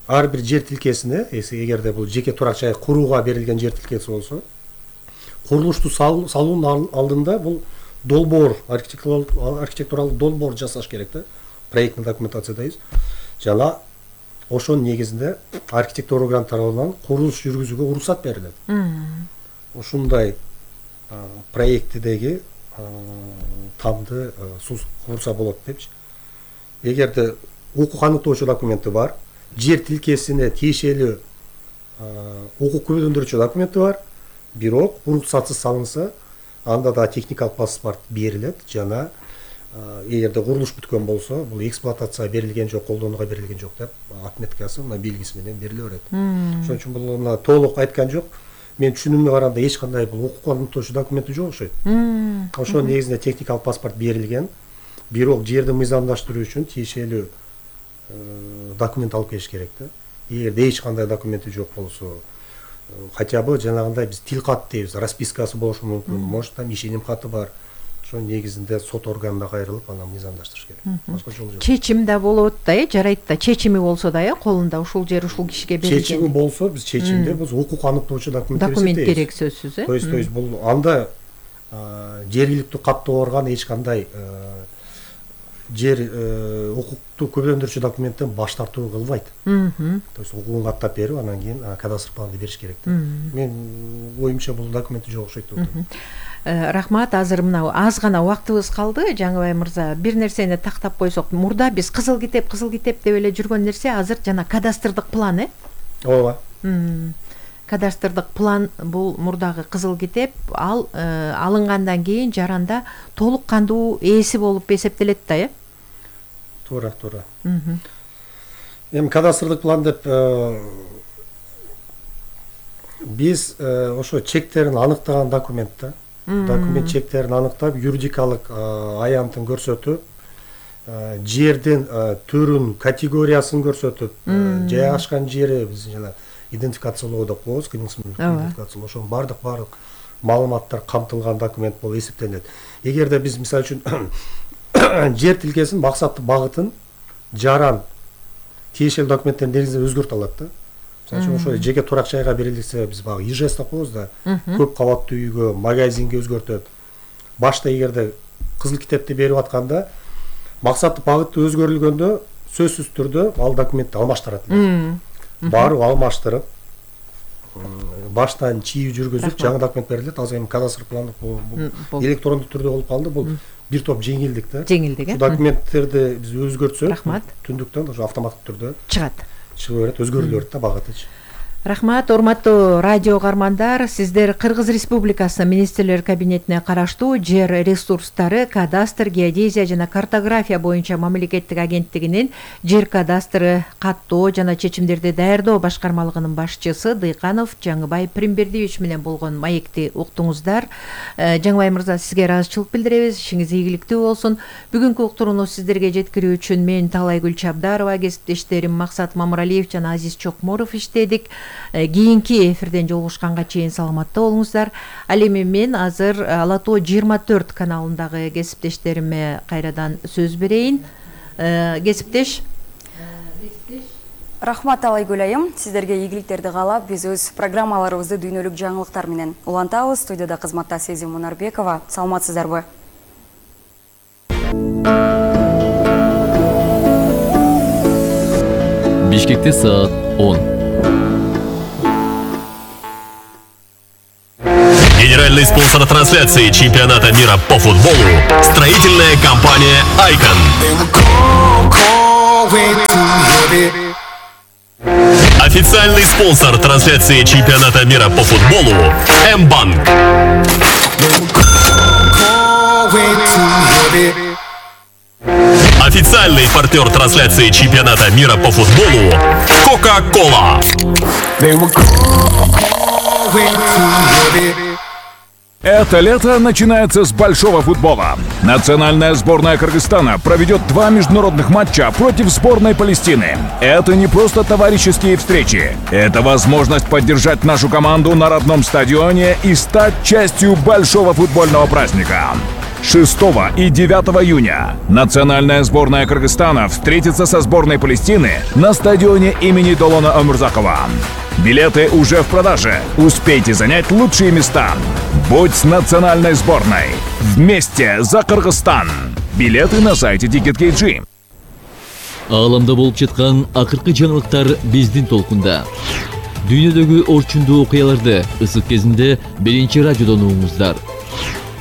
ар бир жер тилкесине, эгерде бул жеке турак жай курууга берилген жер тилкеси болсо, курулушту салуунун алдында бул долбоор, архитектуралык долбоор жасаш керек да. Проектный документация дейбиз. Жана ошонун негизинде архитектура органы тарабынан курулуш жүргүзүүгө уруксат берилет. Ушундай проектидеги тамды курса болот депчи. Эгерде укук аныктоочу документи бар, жер тилкесине тиешелүү укук күбөлөндүрүүчү документи бар, бирок уруксатсыз салынса, анда да техникалык паспорт берилет. Жана эгерде курулуш бүткөн болсо, бул эксплуатацияга берилген жок, колдонууга берилген жок деп отметкасы, мына белгиси менен бериле берет. Ошон үчүн бул мына толук айткан жок. Мен түшүнүмгө караганда эч кандай бул укук аныктоочу документи жок окшойт. Ошонун негизинде техникалык паспорт берилген, бирок жерди мыйзамдаштыруу үчүн тиешелүү документ алып келиш керек да. Эгерде эч кандай документи жок болсо, хотя бы жанагындай биз тил кат дейбиз, распискасы болушу мүмкүн, может там ишеним каты бар. Ошонун негизинде сот органына кайрылып, анан мыйзамдаштырыш керек. Башка жол жок. Чечим да болот да, э, жарайт да. Чечими болсо да, э, колунда ушул жер ушул кишиге берилген. Чечими болсо, биз чечимде биз укук аныктоочу документ беребиз. Документ керек сөзсүз, э. То есть, то есть бул анда жергиликтүү каттоорган эч кандай жер укукту көбөлөндүрүүчү документтен баш тартуу кылбайт. То есть укугун каттап берип, анан кийин кадастр планды бериш керек да. Мен оюмча бул документи жок окшойт деп атам. Рахмат. Азыр мына аз гана убактыбыз калды. Жаңыбай мырза, бир нерсени тактап койсок, мурда биз кызыл китеп, кызыл китеп деп эле жүргөн нерсе азыр жана кадастрдык план, э? Ооба. Кадастрдык план бул мурдагы кызыл китеп, ал алынгандан кийин жаранда толук кандуу ээси болуп эсептелет да, э? Туура, туура. Эми кадастрдык план деп биз ошо чектерин аныктаган документ да. Документ чектерин аныктап, юридикалык аянтын көрсөтүп, жердин түрүн, категориясын көрсөтүп, жайгашкан жери биз жана идентификациялоо деп коебуз, кыймылсыз идентификациялоо. Ошонун бардык бардык маалыматтар камтылган документ болуп эсептелет. Эгерде биз мисалы үчүн жер тилкесин, максаттуу багытын, жаран тиешелүү документтердин негизинде өзгөртө алат да. Мисалы үчүн ошо жеке турак жайга берилсе, биз багы ижэс деп коебуз да. Көп кабаттуу үйгө, магазинге өзгөртөт. Башта эгерде кызыл китепти берип атканда, максаттуу багыты өзгөрүлгөндө сөзсүз түрдө ал документти алмаштырат. Барып алмаштырып, баштан чийүү жүргүзүп, жаңы документ берилет. Азыр эми кадастр пландык электрондук түрдө болуп калды. Бул бир топ жеңилдик да. Жеңилдик, э? Документтерди биз өзгөртсөк, рахмат. Түндүктөн ошо автоматтык түрдө чыгат. Чыгып берет, өзгөрүлө берет да багытычы. Рахмат, урматтуу радио кармандар. Сиздер Кыргыз Республикасынын министрлер кабинетине караштуу жер ресурстары, кадастр, геодезия жана картография боюнча мамлекеттик агенттигинин жер кадастры, каттоо жана чечимдерди даярдоо башкармалыгынын башчысы Дыйканов Жаңыбай Примбердиевич менен болгон маекти уктуңуздар. Жаңыбай мырза, сизге ыраазычылык билдиребиз. Ишиңиз ийгиликтүү болсун. Бүгүнкү уктурууну сиздерге жеткирүү үчүн мен Талайгүл Чабдарова, кесиптештерим Максат Мамыралиев жана Азиз Чокморов иштедик. Кийинки эфирден жолугушканга чейин саламатта болуңуздар. Ал эми мен азыр Ала Тоо жыйырма төрт каналындагы кесиптештериме кайрадан сөз берейин. Кесиптеш. Рахмат Талайгүл айым, сиздерге ийгиликтерди каалап, биз өз программаларыбызды дүйнөлүк жаңылыктар менен улантабыз. Студияда кызматта Сезим Мунарбекова. Саламатсыздарбы? Бишкекте саат он. Официальный спонсор трансляции чемпионата мира по футболу – строительная компания «Айкон». Официальный спонсор трансляции чемпионата мира по футболу – М-банк. Официальный партнер трансляции чемпионата мира по футболу – Кока-Кола. Это лето начинается с большого футбола. Национальная сборная Кыргызстана проведет два международных матча против сборной Палестины. Это не просто товарищеские встречи. Это возможность поддержать нашу команду на родном стадионе и стать частью большого футбольного праздника. шестого и девятого июня национальная сборная Кыргызстана встретится со сборной Палестины на стадионе имени Долона Омурзакова. Билеты уже в продаже. Успейте занять лучшие места. Будь с национальной сборной. Вместе за Кыргызстан. Билеты на сайте Ticket.kg. Ааламда болуп жаткан акыркы жаңылыктар биздин толкунда. Дүйнөдөгү орчундуу окуяларды ысык кезинде биринчи радиодон угуңуздар.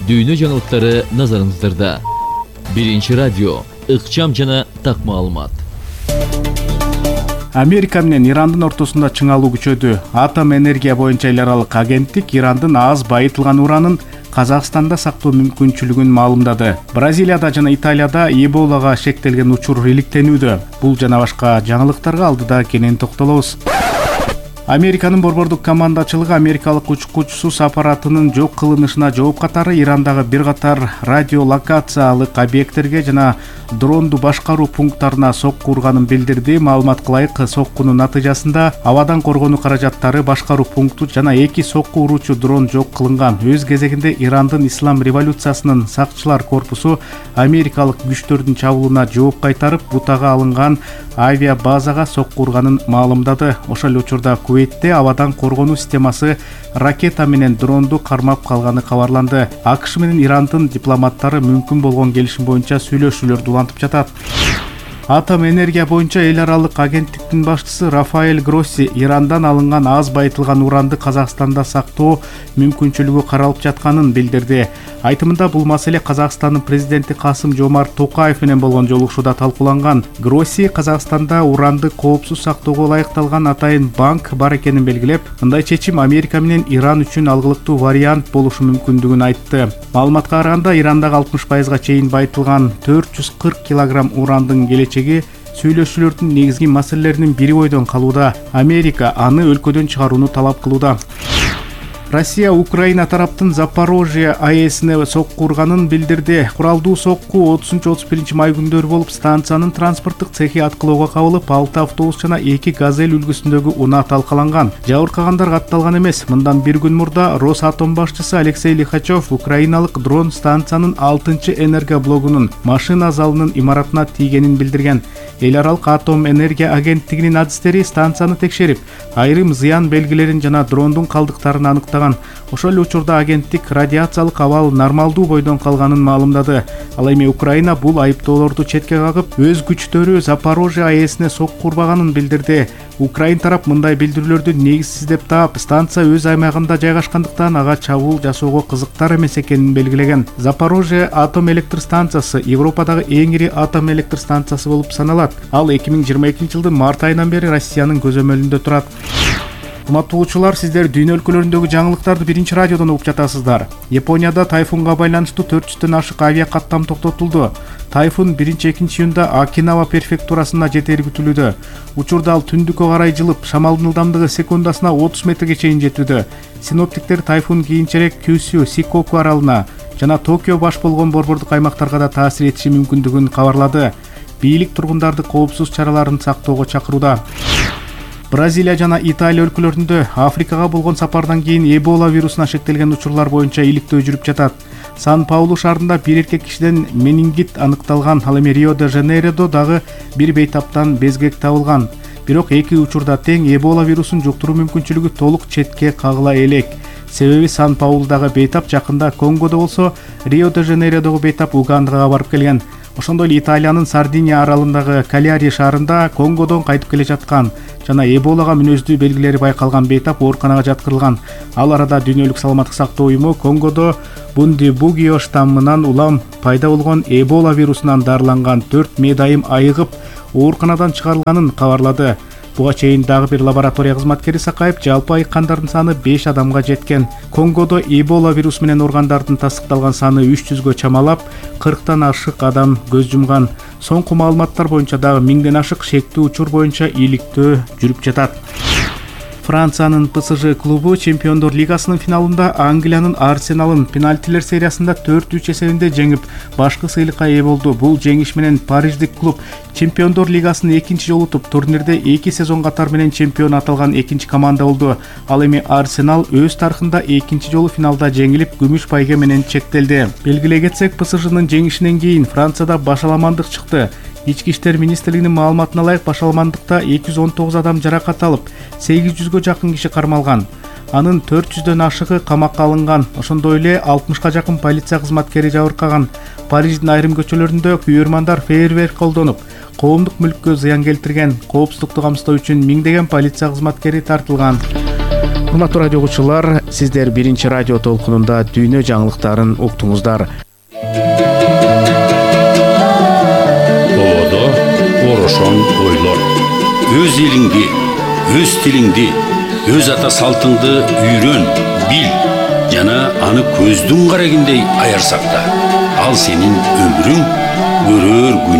Дүйнө жаңылыктары назарыңыздарда. Биринчи радио, ыкчам жана так маалымат. Америка менен Ирандын ортосунда чыңалуу күчөдү. Атом энергия боюнча эл аралык агенттик Ирандын аз байытылган уранын Казакстанда сактоо мүмкүнчүлүгүн маалымдады. Бразилияда жана Италияда Эболага шектелген учур иликтенүүдө. Бул жана башка жаңылыктарга алдыда кенен токтолобуз. Американын борбордук командачылыгы америкалык учкучусуз аппаратынын жок кылынышына жооп катары Ирандагы бир катар радиолокациялык объекттерге жана дронду башкаруу пункттарына сокку урганын билдирди. Маалыматка ылайык, соккунун натыйжасында абадан коргонуу каражаттары, башкаруу пункту жана эки сокку уруучу дрон жок кылынган. Өз кезегинде Ирандын ислам революциясынын сакчылар корпусу америкалык күчтөрдүн чабуулуна жооп кайтарып, бутага алынган авиабазага сокку урганын маалымдады. Ошол эле учурда Куweitте абадан коргонуу системасы ракета менен дронду кармап калганы кабарланды. АКШ менен Ирандын дипломаттары мүмкүн болгон келишим боюнча сүйлөшүүлөрдү улантып жатат. Атом энергия боюнча эл аралык агенттиктин башчысы Рафаэль Гросси Ирандан алынган аз байытылган уранды Казакстанда сактоо мүмкүнчүлүгү каралып жатканын билдирди. Айтымында бул маселе Казакстандын президенти Касым-Жомарт Токаев менен болгон жолугушууда талкууланган. Гросси Казакстанда уранды коопсуз сактоого ылайыкталган атайын банк бар экенин белгилеп, мындай чечим Америка менен Иран үчүн алгылыктуу вариант болушу мүмкүндүгүн айтты. Маалыматка караганда, Ирандагы алтымыш пайызга чейин байытылган төрт жүз кырк килограмм урандын келечеги сүйлөшүүлөрдүн негизги маселелеринин бири бойдон калууда. Америка аны өлкөдөн чыгарууну талап кылууда. Россия Украина тараптын Запорожье АЭСине сокку урганын билдирди. Куралдуу сокку отузунчу отуз биринчи май күндөрү болуп, станциянын транспорттук цехи аткылоого кабылып, алты автобус жана эки газель үлгүсүндөгү унаа талкаланган. Жабыркагандар катталган эмес. Мындан бир күн мурда Росатом башчысы Алексей Лихачев украиналык дрон станциянын алтынчы энергоблогунун машина залынын имаратына тийгенин билдирген. Эл аралык атом энергия агенттигинин адистери станцияны текшерип, айрым зыян белгилерин жана дрондун калдыктарын аныктаган. Ошол эле учурда агенттик радиациялык абал нормалдуу бойдон калганын маалымдады. Ал эми Украина бул айыптоолорду четке кагып, өз күчтөрү Запорожье АЭСине сокку урбаганын билдирди. Украин тарап мындай билдирүүлөрдү негизсиз деп таап, станция өз аймагында жайгашкандыктан ага чабуул жасоого кызыктар эмес экенин белгилеген. Запорожье атом электр станциясы Европадагы эң ири атом электр станциясы болуп саналат. Ал эки миң жыйырма экинчи жылдын март айынан бери Россиянын көзөмөлүндө турат. Урматтуулучулар, сиздер дүйнө өлкөлөрүндөгү жаңылыктарды биринчи радиодон угуп жатасыздар. Японияда тайфунга байланыштуу төрт жүздөн ашык авиа каттам токтотулду. Тайфун биринчи-экинчи июнда Окинава префектурасына жетери күтүлүүдө. Учурда ал түндүккө карай жылып, шамалдын ылдамдыгы секундасына отуз метрге чейин жетүүдө. Синоптиктер тайфун кийинчерээк Кюсю, Сикоку аралына жана Токио баш болгон борбордук аймактарга да таасир этиши мүмкүндүгүн кабарлады. Бийлик тургундарды коопсуз чараларын сактоого чакырууда. Бразилия жана Италия өлкөлөрүндө Африкага болгон сапардан кийин Эбола вирусуна шектелген учурлар боюнча иликтөө жүрүп жатат. Сан-Паулу шаарында бир эркек кишиден менингит аныкталган. Ал эми Рио-де-Жанейродо дагы бир бейтаптан безгек табылган. Бирок эки учурда тең Эбола вирусун жуктуруу мүмкүнчүлүгү толук четке кагыла элек. Себеби Сан-Паулудагы бейтап жакында Конгодо болсо, Рио-де-Жанейродогу бейтап Угандага барып келген. Ошондой эле Италиянын Сардиния аралындагы Каляри шаарында Конгодон кайтып келе жаткан жана Эболага мүнөздүү белгилери байкалган бейтап ооруканага жаткырылган. Ал арада Дүйнөлүк саламаттык сактоо уюму Конгодо Бундибугио штаммынан улам пайда болгон Эбола вирусунан дарыланган төрт медайым айыгып ооруканадан чыгарылганын кабарлады. Буга чейин дагы бир лаборатория кызматкери сакайып, жалпы айыккандардын саны беш адамга жеткен. Конгодо Эбола вирусу менен ооругандардын тастыкталган саны үч жүзгө чамалап, кырктан ашык адам көз жумган. Соңку маалыматтар боюнча дагы миңден ашык шектүү учур боюнча ийгиликтөө жүрүп жатат. Франциянын ПСЖ клубу Чемпиондор лигасынын финалында Англиянын Арсеналын пенальтилер сериясында төрт үч эсебинде жеңип, башкы сыйлыкка ээ болду. Бул жеңиш менен париждик клуб Чемпиондор лигасын экинчи жолу утуп, турнирде эки сезон катар менен чемпион аталган экинчи команда болду. Ал эми Арсенал өз тарыхында экинчи жолу финалда жеңилип, күмүш пайга менен чектелди. Белгилей кетсек, ПСЖнын жеңишинен кийин Францияда башаламандык чыкты. Ички иштер министрлигинин маалыматына ылайык, башаламандыкта эки жүз он тогуз адам жаракат алып, сегиз жүзгө жакын киши кармалган. Анын төрт жүздөн ашыгы камакка алынган. Ошондой эле алтымышка жакын полиция кызматкери жабыркаган. Париждин айрым көчөлөрүндө күйөрмандар фейерверк колдонуп, коомдук мүлккө зыян келтирген. Коопсуздукту камсыздоо үчүн миңдеген полиция кызматкери тартылган. Урматтуу радио угуучулар, сиздер биринчи радио толкунунда дүйнө жаңылыктарын уктуңуздар. Орошон ойлор. Өз элиңди, өз тилиңди, өз ата салтыңды үйрөн, бил жана аны көздүн карагиндей аяр сакта. Ал сенин өмүрүң, көрөр күн